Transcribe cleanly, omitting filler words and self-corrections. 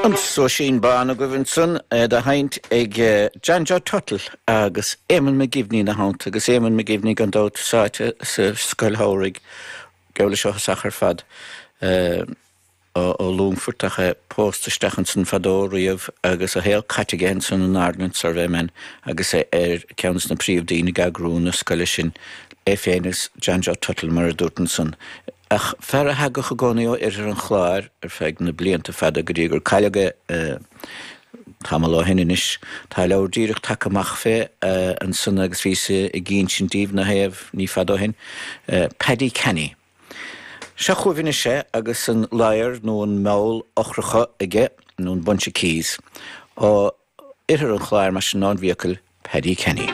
An Sóisín Bán agaibh ansan, é dá sheinnt ag John Joe Tuttle agus Éamonn McGivney ina theannta, agus Éamonn McGivney gan dabht sáite sa scoil shamhraidh, geall leis ó thosach ar fad ó Longfort ach é pósta isteach ansan fadó riamh agus a shaol caite aige ansan in Ordnance Survey Men agus é ar ceann de na príomh-daoine ag eagrú na scoile sin, é féin agus John Joe Tuttle mar a dúrt ansan. Ach fear a thagadh i gcónaí ó oirthear an Chláir ar feadh na blianta fada go dtí gur cailleadh é tamall ó shin anois. Tá leabhar díreach tagtha amach fé ansan agus bhíos ag insint daoibh ina thaobh ní fada ó shin, Paddy Canny. Seo chugaibh anois é agus an ladhar nó an meall eochracha aige, nó an bunch of keys, ó oirthear an Chláir mar sin ón bhFiacail, Paddy Kenny.